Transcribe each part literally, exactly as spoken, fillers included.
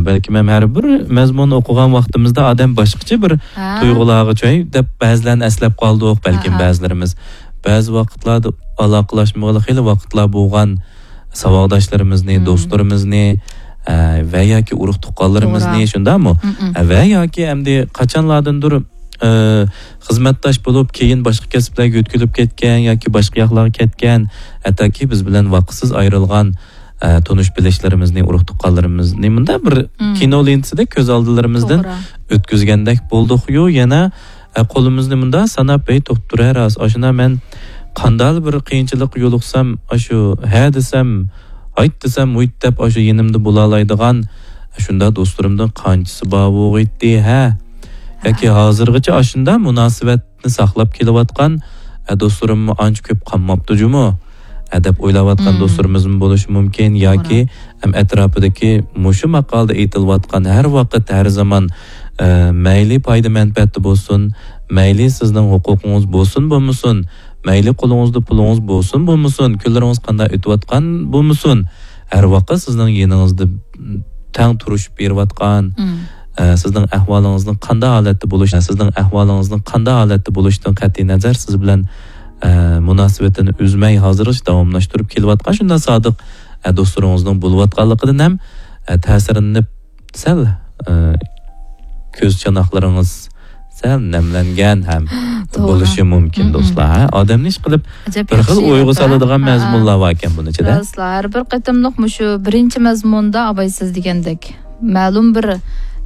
بەلكىم ھەم ھەر بىر مەزمۇننى ئوقۇغان ۋاقتىمىزدا ئادەم باشقىچە بىر ھە. تۇيغۇلارغا چۆي دەپ بەزىلەرنى ئەسلەپ قالدۇق، بەلكىم ھە، ھە. بەزىلىرىمىز. بەزى ۋاقىتلاردا ئالاقىلاشمىغىلى خېلى ۋاقىتلار بولغان ساۋاقداشلىرىمىزنى، مم. دوستلىرىمىزنى، ئە، ۋە ياكى ئۇرۇق تۇغقانلىرىمىزنى، توغرا. شۇنداقمۇ؟ مم، مم. ئە، ۋە ياكى ئەمدى قاچانلاردىندۇر، ئە، خىزمەتداش بولۇپ، كېيىن باشقا كەسىپلەرگە يۆتكىلىپ كەتكەن ياكى باشقا ياقلارغا كەتكەن، ھەتتاكى بىز بىلەن ۋاقىتسىز ئايرىلغان، ئە، تونۇش بىلىشلىرىمىزنى، ئۇرۇق تۇغقانلىرىمىزنى مۇنداق بىر مم. كىنو لېنتىسىدەك كۆز ئالدىلىرىمىزدىن توغرا. ئۆتكۈزگەندەك بولدۇقيۇ، يەنە ئە، قولىمىزنى مۇنداق ساناپ، ھەي، توختۇرە راست، ئاشۇنا مەن قانداقلا بىر قىيىنچىلىققا يولۇقسام، ئاشۇ ھە دېسەم، ھايت دېسەم، ھۇيت دەپ، ئاشۇ يېنىمدا بولالايدىغان شۇنداق دوستلىرىمدىن قانچىسى بار بولغىيتتى، ھە؟ ياكى ھازىرغىچە ئاشۇنداق مۇناسىۋەتنى ساقلاپ كېلىۋاتقان، ئە، دوستلىرىممۇ ئانچە كۆپ قالماپتۇ جۇمۇ، ئە، دەپ ئويلاۋاتقان مم. دوستلىرىمىزمۇ بولۇشى مۇمكىن، ياكى توغرا. ھەم ئەتراپىدىكى مۇشۇ ماقالىدە ئېيتىلىۋاتقان ھەر ۋاقىت، ھەر زامان، ئە، مەيلى پايدا مەنپەئەتتە بولسۇن، مەيلى سىزنىڭ ھوقۇقىڭىز بولسۇن بولمىسۇن، مەيلى قولىڭىزدا پۇلىڭىز بولسۇن بولمىسۇن، كۈنلىرىڭىز قانداق ئۆتۈۋاتقان بولمىسۇن، ھەر ۋاقىت سىزنىڭ يېنىڭىزدا تەڭ تۇرۇشۇپ بېرىۋاتقان، مم. ئە، سىزنىڭ ئەھۋالىڭىزنىڭ قانداق ھالەتتە بولۇش، سىزنىڭ ئەھۋالىڭىزنىڭ قانداق ھالەتتە بولۇشىدىن قەتئىينەزەر، سىز بىلەن، ئە، مۇناسىۋىتىنى ئۈزمەي ھازىرغىچە داۋاملاشتۇرۇپ كېلىۋاتقان شۇنداق سادىق، ئە، دوستلىرىڭىزنىڭ بولۇۋاتقانلىقىدىن ھەم، ئە، تەسىرلىنىپ سەل، ئە، كۆز چاناقلىرىڭىز سەل نەملەنگەن ھەم توغرا. بولۇشى مۇمكىن، مم. دوستلار. ھە؟ ئادەمنى ئىشقىلىپ ئەجەب بىر خىل ياخشى ئويغا يېزىپتۇ. سالىدىغان ھە. مەزمۇنلار باركەن بۇنىڭ ئىچىدە. راستلا، ھەر بىر قېتىملىق مۇشۇ بىرىنچى مەزمۇندا ئاباي سىز دېگەندەك مەلۇم بىر،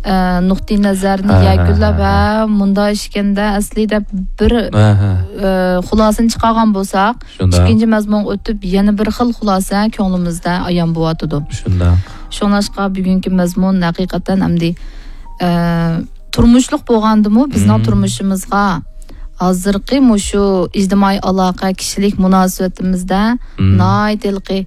ئە، نۇقتىئى نەزەرنى ھە، ھە، يەكۈنلەپ، ھە، ھە. ھە، مۇنداق ئىكەندە ئەسلى دەپ بىر، ھە، ھە. ئە، خۇلاسىنى چىقارغان بولساق، شۇنداق. ئىككىنچى مەزمۇنغا ئۆتۈپ، يەنە بىر خىل خۇلاسە كۆڭلىمىزدە ئايان بولۇۋاتىدۇ. شۇنداق. شۇڭلاشقا بۈگۈنكى مەزمۇن ھەقىقەتەن ئەمدى، ئە، تۇرمۇشلۇق بولغاندىمۇ بىزنىڭ مم. تۇرمۇشىمىزغا ھازىرقى مۇشۇ ئىجتىمائىي ئالاقە، كىشىلىك مۇناسىۋىتىمىزدە مم. ناھايىتى ھېلىقى،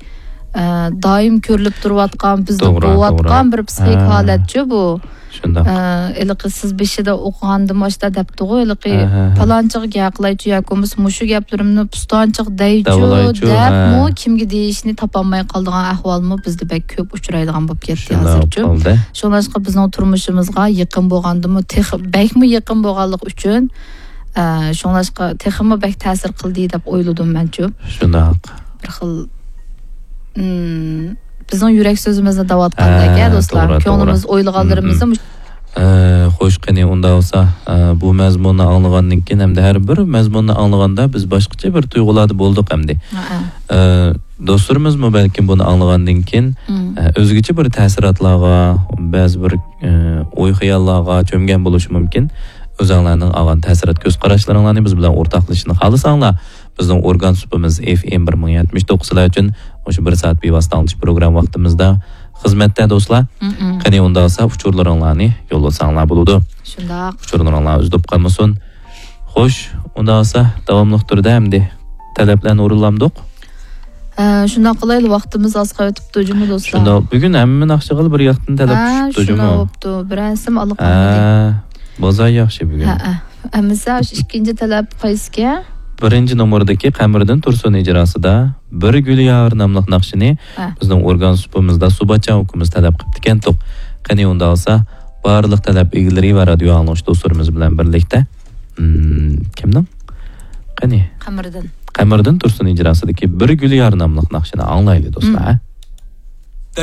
ئە، دائىم كۆرۈلۈپ تۇرۇۋاتقان، بىزدە توغرا، بولۇۋاتقان توغرا. بىر پسىخىك ھە. ھالەتچۇ بۇ. شۇنداق. ئە، ھېلىقى سىز بېشىدا ئوقۇغاندىمۇ ئاشۇنداق دەپتىغۇ، ھېلىقى ھە، ھە، ھە. پالانچىغا گەپ قىلايچۇ ياكى بولمىسا مۇشۇ گەپلىرىمنى پۇستانچىغا دەيچۇ داۋالايچۇ، دەپمۇ ھە. كىمگە دېيىشنى تاپالماي قالىدىغان ئەھۋالمۇ بىزدە بەك كۆپ ئۇچرايدىغان بولۇپ كەتتى شۇنداق ھازىرچۇ. بولدى. شۇڭلاشقا بىزنىڭ تۇرمۇشىمىزغا يېقىن بولغاندىمۇ تېخى، بەكمۇ يېقىن بولغانلىقى ئۈچۈن، ئە، شۇڭلاشقا تېخىمۇ بەك تەسىر قىلدى دەپ ئويلىدىم مەنچۇ. شۇنداق. بىر خىل، ئىم، بىزنىڭ يۈرەك سۆزىمىزنى دەۋاتقاندەك، ھە، ھە، دوستلار. توغرا، كۆڭلىمىز توغرا. ئويلىغانلىرىمىزنى مم، مم. مۇش- ئە، خوش، قېنى، ئۇنداق بولسا، ئە، بۇ مەزمۇننى ئاڭلىغاندىن كېيىن ھەمدە ھەر بىر مەزمۇننى ئاڭلىغاندا بىز باشقىچە بىر تۇيغۇلاردا بولدۇق ئەمدى. ھە، ھە. ئە، دوستلىرىمىزمۇ بەلكىم بۇنى ئاڭلىغاندىن كېيىن، مم. ئە، ئۆزگىچە بىر تەسىراتلارغا، بەزى بىر، ئە، ئوي-خىياللارغا چۆمگەن بولۇشى مۇمكىن. ئۆزۈڭلارنىڭ ئالغان تەسىرات كۆز قاراشلىرىڭلارنى بىز بىلەن ئورتاقلىشىشنى خالىساڭلار، بىزنىڭ ئورگان سۇپىمىز ئېف ئېم بىر مىڭ يەتمىش توققۇز سىلەر ئۈچۈن مۇشۇ بىر سائەت بىۋاسىتە ئاڭلىتىش پروگرامما ۋاقتىمىزدا خىزمەتتە، دوستلار. مم، مم. قېنى، ئۇنداق بولسا ئۇچۇرلىرىڭلارنى يوللىساڭلار بولىدۇ. شۇنداق. ئۇچۇرلىرىڭلار ئۈزۈلۈپ قالمىسۇن. خوش، ئۇنداق بولسا داۋاملىق تۈردە ئەمدى تەلەپلەرنى ئورۇنلامدۇق؟ ھە، شۇنداق قىلايلى، ۋاقتىمىز ئاز قېلىۋېتىپتۇ جۇمۇ، دوستلار. شۇنداق. بۈگۈن ھەممە ناخشىغىلا بىر ياقتىن تەلەپ ھە، چۈشۈپتۇ شۇنداق جۇمۇ. بوپتۇ. بىرەرسىمۇ ئالىقالمىدى. ھە، بازار ياخشى بۈگۈن. ھە، ھە. ئەمىسە ئاشۇ ئىككىنچى تەلەپ قايسىكەن؟ بىرىنچى نومۇردىكى قەمىرىدىن تۇرسۇن ئىجراسىدا بىر گۈل ياغار ناملىق ناخشىنى ھە. بىزنىڭ ئورگان سۇپىمىزدا سۇباتجان ئۇكىمىز تەلەپ قىپتىكەن توق. قېنى ئۇنداق بولسا، بارلىق تەلەپ ئىگىلىرى ۋە رادىيو ئاڭلىغۇچى دوستلىرىمىز بىلەن بىرلىكتە، ئىم، كىمنىڭ؟ قېنى؟ قەمىرىدىن. قەمىرىدىن تۇرسۇن ئىجراسىدىكى بىر گۈل ياغار ناملىق ناخشىنى ئاڭلايلى، دوستلار، مم. ھە؟